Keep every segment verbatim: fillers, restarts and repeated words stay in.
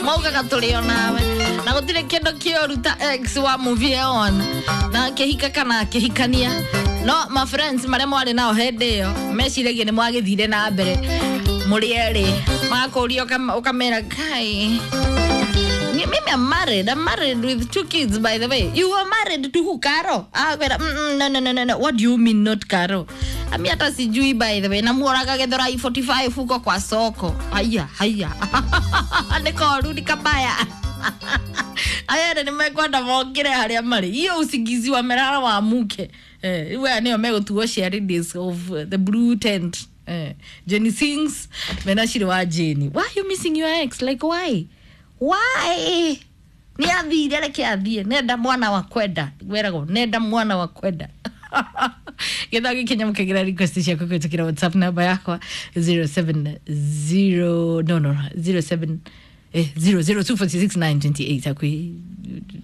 Maugaga tũrĩ o nawe na gũtirĩ kĩndũ kĩũru ta ex wa move on na akĩhika kana akĩhikania no ma friends marĩa mwarĩ nao hĩndĩ ĩyo meciragia nĩ mwagĩthire na mbere mũrĩ erĩ magakũria ũkamera kai mimi I'm married. I'm married with two kids, by the way. You were married to who, Caro? Ah, mm, mm, no, no, no, no, no. What do you mean not Caro? Ami hata sijui by the way. Namuoraga Githurai forty-five huko kwa soko. Haya, haya. Niko rudi kabaya. Aya nĩ mekwenda mokire harĩa marĩ. Hiyo usingizi wa merara wa muke. Eh, we nĩo megũtuo cheerleaders of the blue tent. Eh, Jenny sings mena shiri wa Jenny. Why are you missing your ex? Like why? Why? Ni athire reke athie. Nenda mwana wa kwenda. Weragwo nenda mwana wa kwenda. Githaa gĩkinya mũkĩgira request ciaku kũhĩtũkĩra WhatsApp namba yakwa zero seven zero no no zero seven eh zero zero two forty six nine twenty eight akwi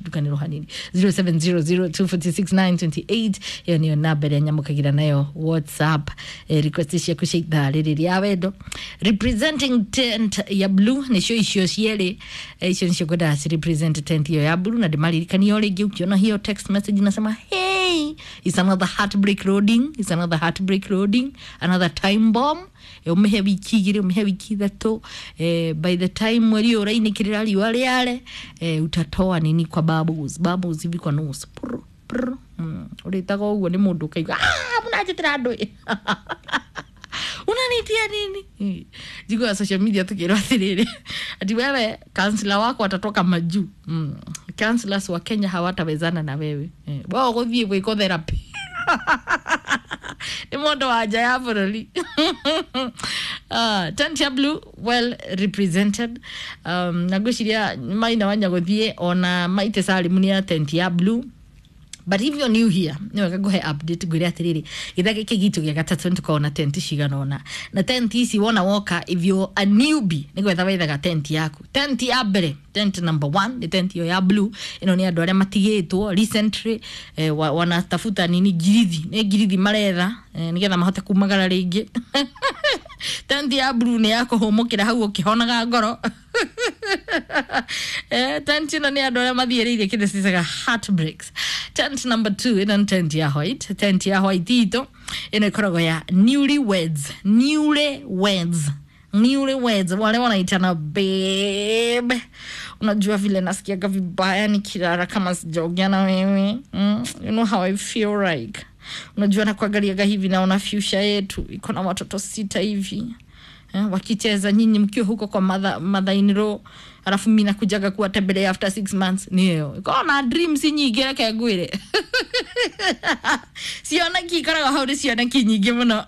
dukanĩrwo hanini zero seven zero zero two forty six nine twenty eight ĩyo nĩyo namba ĩrĩa nyamũkagĩra nayo WhatsApp eh, request ciaku cia ithaa rĩrĩ rĩa wendo representing tent ya blue nĩcio icio cierĩ eh, icio nĩcio ngwendaga ci represent tent ĩyo ya blue na ndĩmaririkanie o rĩngĩ ũkĩona hiyo text message nasema hey it's another heartbreak loading, it's another heartbreak loading, another time bomb. Umehe wiki igĩrĩ umehe wiki ithatũ eh, by the time mweri ũyũ ũrainĩkĩrĩra riũa rĩare eh, utatoa nini kwa bubbles bubbles hivi kwa nose prr prr mm. Ũrĩtaga ũguo nĩ mũndũ ũkaigua ah mũnanjĩtĩra andũ unanitia nini jiko ya social media tukirwa atiriri ati wewe counselor wako atatoka majuu mm. Counselors wa Kenya hawatawezana na wewe eh, wao gũthiĩ gwĩkwo therapy nĩ mũndũ wa nja ya bũrũri. Uh, tent ya blue well represented um, na ngwĩciria maina wanya gũthiĩ ona maite salimu nĩ ya tent ya blue. But if you're new here, nĩ wega ngũhe update ngwĩre atĩrĩrĩ gĩthaa gĩkĩ gitũ gĩa gatatũ nĩ tũkoragwo na tent cigana ũna na tent ici wona woka if you're a newbie nĩ gwetha wethaga tent yaku. Tent ya mbere, tent number one nĩ tent ĩyo ya blue. Ĩno nĩ andũ arĩa matigĩtwo recently eh, wa, wanatafuta nini ngirithi nĩ ngirithi maretha eh, nĩgetha mahote kumagara rĩngĩ. Tent ya blue nĩ ya kũhũmũkĩra hau ũkĩhonaga ngoro. Eh, tent ĩno nĩ andũ arĩa mathiĩrĩire kĩndũ cicaga heartbreaks. Tent number two ĩno nĩ tent ya white. Tent ya white itũ ĩno ĩkoragwo ya newly weds, newly weds, newly weds wale wanaitana babe. Unajua vile nasikiaga vibaya nikilala kama sijaongea na wewe mm, you know how I feel like. Unajua nakuangaliaga hivi naona future yetu iko na watoto sita hivi eh, wakicheza nyinyi mkiwa huko kwa mother, mother in law alafu mimi nakujaga kuwatembelea after six months. Niyo iko na dreams nyingĩ reke ngwĩre ciona ki ikoragwo hau nĩ ciona ki nyingĩ mũno.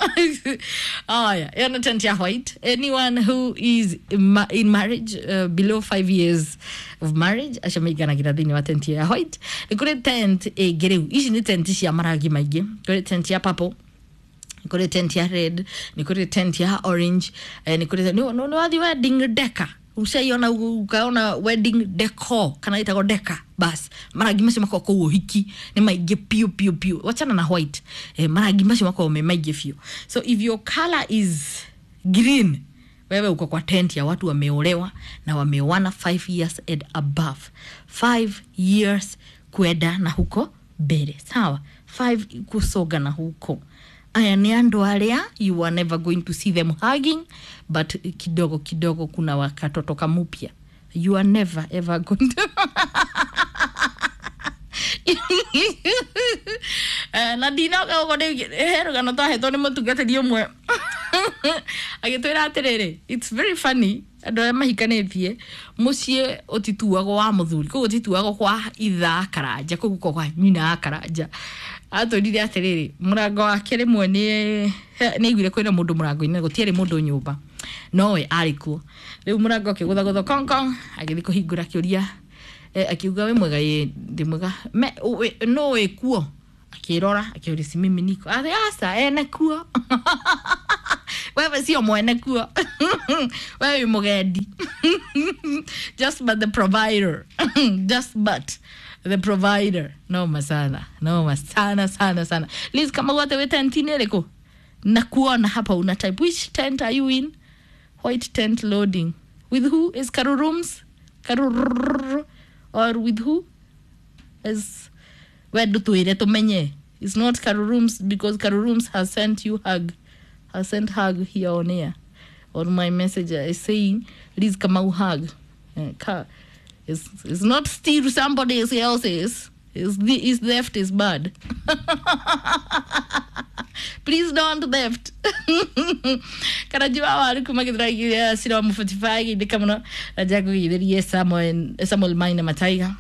Aya ĩyo nĩ tent ya white. Anyone who is in, ma in marriage uh, below five years of marriage acio maiganagĩra thĩinĩ wa tent ya white. Nĩ kũrĩ tent ĩngĩ rĩu ici nĩ tent cia marangi maingĩ. Kũrĩ tent ya purple, nĩ kũrĩ tent ya red, nĩ kũrĩ tent ya orange eh, nĩ kũrĩ nĩ nĩ wathi wedding decor ushaiona ukaona wedding decor kana ĩtagwo decor bas marangi macio makoragwo kũu ũhiki nĩ maingĩ piũ piũ piũ wachana na white eh, marangi macio makoragwo me maingĩ biũ. So if your color is green wewe uko kwa tent ya watu wameolewa na wameoana five years and above, five years kwenda na huko mbere sawa, five kusoga na huko. Aya nĩ andũ arĩa you are never going to see them hugging but kidogo kidogo kuna wakatoto kamupya. You are never ever going to eh, na ndinoka ũguo rĩu he rũgano twahetwo nĩ mũtungatĩri ũmwe agĩtwĩra atĩrĩrĩ it's very funny andũ arĩa mahikanĩtie mũciĩ ũtituagwo wa mũthuri koguo ũtituagwo kwa itha karanja koguo kwa kwa nyina karanja. Atwĩrire atĩrĩrĩ mũrango wake rĩmwe nĩ nĩ aiguire kwĩna mũndũ mũrango-inĩ gũtiarĩ mũndũ nyũmba nowe arĩ kuo. Rĩu mũrango ũkĩgũthagũthwo kong kong agĩthiĩ kũhingũra akĩũria eh, akiuga wĩ mwega ĩ ndĩ mwega no wĩ kuo akĩrora akĩũria si mimi niko atĩ aca ene kuo wewe sio mwene kuo wewe wĩ mũgendi just but the provider just but the provider. Noma sana, noma sana sana sana. Liz kama wote we tent ni ĩrĩkũ na kuona hapa una type which tent are you in? White tent loading with who is Karu Rooms? Karuru or with who is we ndutwire tumenye. It's not Karurums because Karurums has sent you hug, has sent hug here on air on my messenger is saying Liz Kamau hug. Uh, ka, it's, it's not steal somebody else's. It's, the, it's theft is bad. Please don't theft. Karajua waru kumagithiragia sira wa forty-five indika muno na jagu Samuel Samuel Maina Mataiga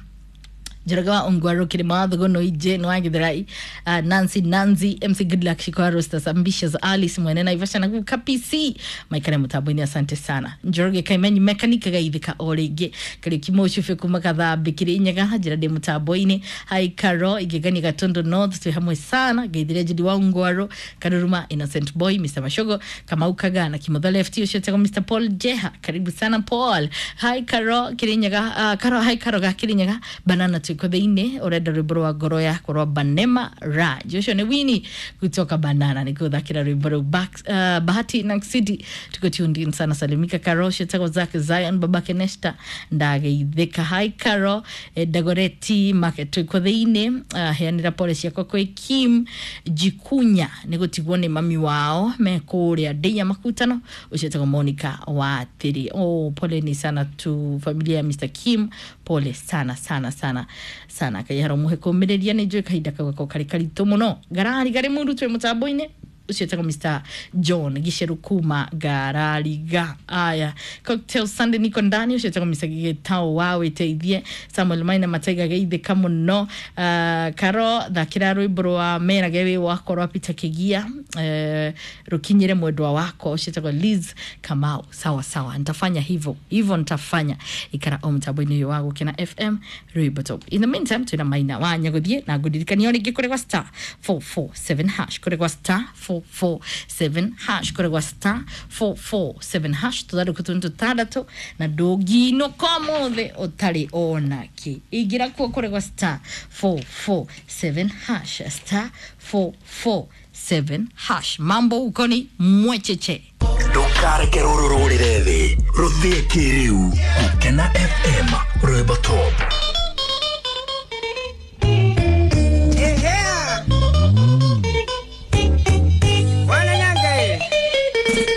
Njoroge wa Ongwaro Kirima wa Thugono Ije no wagithirai uh, Nancy Nancy M C Good Luck Shikwa Rostas Ambitious Alice Mwene na Ivasha na K P C Maikare mutambo-ini asante sana. Njoroge Kaimenyi mekanika gaithika o ringi Kariuki Mucubi kuma Kathambi Kirinyaga njira ndi mutambo-ini. Hi Karo Igegani Gatondo North twi hamwe sana geithire Judy wa Ongwaro Karuruma Innocent Boy Mister Mashogo Kamau Kaga na Kimotho Left ucio etagwo Mister Paul Jeha karibu sana Paul. Hi Karo Kirinyaga uh, Karo hi Karo ga Kirinyaga banana tuko thiini urenda rwimbo rwa ngoro yakwa rwa Banema Raj ucio ni Winnie kutoka Banana nikuthakira rwimbo ruu back uh, Bahati na City tuko tuned in sana. Salimika Karo ucio Zak Zion babake Nesta ndageithika. Hi Karo eh, Dagoreti market tuko thiini uh, heanira pole ciakwa kwi Kim Jikunya nigutigwo ni mami wao me kuria ndeia makutano ucio etagwo Monica wa Thiri. Oh, pole ni sana tu familia ya Mister Kim, pole sana sana sana sana kayaro muhe kumireria ni njui kahinda kau gako kari karitũ mũno ngarari gari mundu twi mutambo-inĩ ucio etagwo Mister John Giceru kuma Ngarariga. Aya Cocktail Sunday niko ndani ucio etagwo Mister Gitau wa witeithie Samuel Maina Mataiga geithika mũno. uh, Karo thakira rwimbo rwa merage wi wakwa rwa Peter Kigia uh, rukinyire mwendwa wakwa ucio etagwo Liz Kamau. Sawa sawa nitafanya hivyo hivyo nitafanya ikara o mtambo-inĩ ũyũ wa Gũkena F M rwimbo top. In the meantime twina Maina wa Nyaguthie na ngũdirikania o rĩngĩ kũrĩ gwa star four four seven hash kũrĩ gwa star four four seven hash kũrĩ gwa star four four seven hash tuthandũkũ tũnĩ tũtandatũ na ndũnginũka ũmũthĩ ũtarĩ ona kĩ ingĩra kuo kũrĩ gwa star four four seven hash star four four seven hash. Mambo uko ni mwecheche Ndukareke rũrũ rũrĩre thĩ rũthĩe kĩrĩu Gũkena F M.